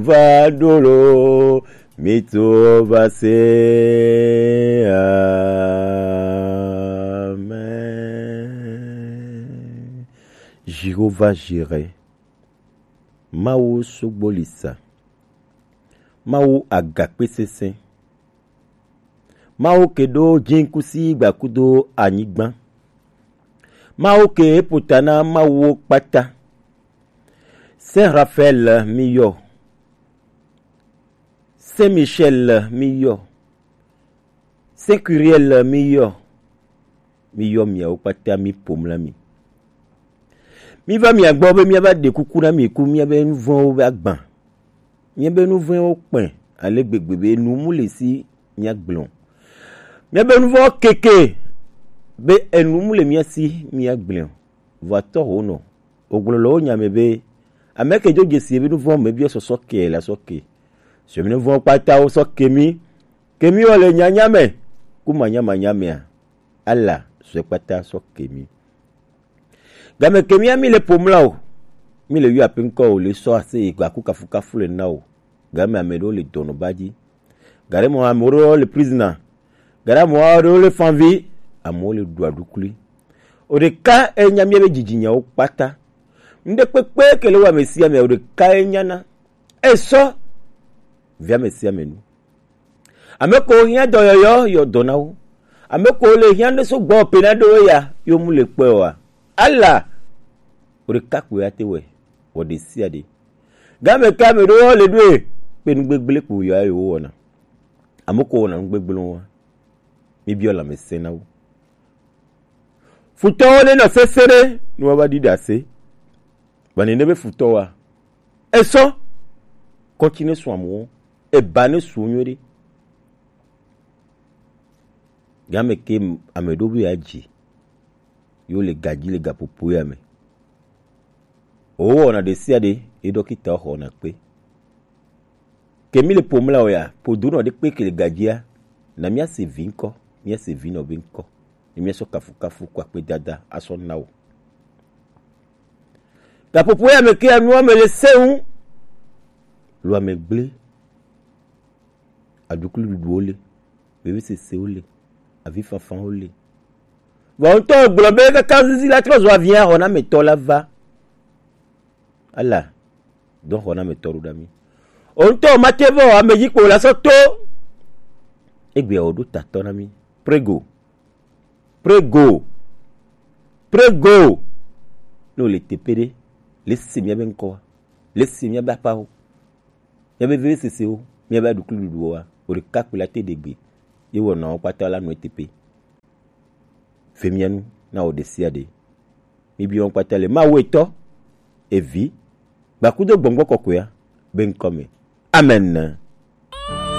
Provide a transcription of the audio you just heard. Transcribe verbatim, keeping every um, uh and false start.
Va ɖo lo, mi to va se. Amen. Jéhovah Jireh. Mawu sugbolisa. Mawu agakpe sesẽ. Mawu ke ɖo jinkusi gbakudo anyigba. Mawu ke ƒota na mawuwo kpata. Saint Raphaël mi yɔ. Saint Michel mi yɔ. Saint Curiel mi yɔ. Mi yɔ miawo kpata mi ƒo mla mi. Mi va mia gbɔ be mia va ɖe kuku na mi ku mia be nu vɔ̃wo va gbã. Mia be nu vɔ̃wo kpɛ ale gbegbe be nu mu le si mia gblẽ o. Mia be nu vɔ̃wo keke be enu mu le mia si mia gblẽ o. Vɔ atɔ ho nɔ. Ogblɔ le wo nya me be, ame ke dzo dzesi ebe nu vɔ̃ me biɔ sɔsɔ ke la sɔ ke. Sɔ mi nu vɔ̃ kpata wo sɔ ke mi. Ke mi wɔ le nyanya me. Ku manya manya mea. Ala sɔ kpata sɔ ke mi. Game ke mi mi le ƒo mla o. Mi le yɔ ape ŋkɔ o le sɔ ase yi gbaku kafukafu le na o. Game ame ɖewo le dɔnɔ ba dzi. Gare mɔ ame ɖewo le prison. Gare mɔ ɖewo le fanvi. Amewo le ɖu aɖukli. O ɖeka enya mia be dzidzinyawo kpata. Ŋɖe kpekpe ke le wa ame sia ame o ɖeka enyana. Esɔ. Via ame sia ame nu. Ame ko hiã dɔyɔyɔ yɔ dɔ na wo. Ame ko le hiã ne so gbɔ pe na ɖo ya yo mu le kpɛ wa. Ala. O ɖeka kpɛ ya te wɛ. Wɔ ɖe sia ɖe. Game ke ame ɖewo le ɖoe kpe nu gbegblẽ kpo yɔ ayi wo wɔna. Ame ko wɔna nu gbegblẽwo wa. Mi biɔ lãmesẽ na wo. Futɔwo ne nɔ sese ɖe nu wa va ɖi ɖase. Ba ne ne be futɔ wa. Esɔ. Kɔntsi ne su amewo. Eba ne su nyuie ɖe. Game ke ame ɖo be ya dzi. Yo le gadzi le gaƒoƒo ya me. Wo wɔna ɖe sia ɖe ye ɖɔkita xɔna kpe. Ke mi le ƒo mla o ya, ƒo do nɔ ɖe kpe ke le gadzia, na mia se vi ŋkɔ, mia se vi nɔ be ŋkɔ. Ne mia sɔ kafukafu kɔ akpe dada asɔ na o. Gaƒoƒo ya me ke ya nua me le seŋ. Lo ame gblẽ. Aɖukli ɖuɖuwo le, vevisesewo le, avifafawo le. Vɔ ŋutɔ gblɔ be kaka zizi la trɔ zɔ avia xɔnametɔ la va. Ala, dɔ xɔnametɔ ɖo ɖa mi. O ŋutɔ mate vɔ ame dzi kpo la sɔ to. Egbe o ɖo tatɔ na mi. Prego. Prego. Prego. Ne o le teƒe ɖe, le se mia be ŋkɔ wa. Le se mia be aƒawo. Mia be vevisesewo, mia be aɖukli ɖuɖuwo wa, o ɖeka kpli la te ɖe gbe, ye wɔ nɔwo kpata la nɔ eteƒe. Ve mia nu na wɔ ɖe sia ɖe. Mi biɔ kpata le Mawu etɔ, evi, gbakudo gbɔngbɔ kɔkɔea be ŋkɔ me. Amen.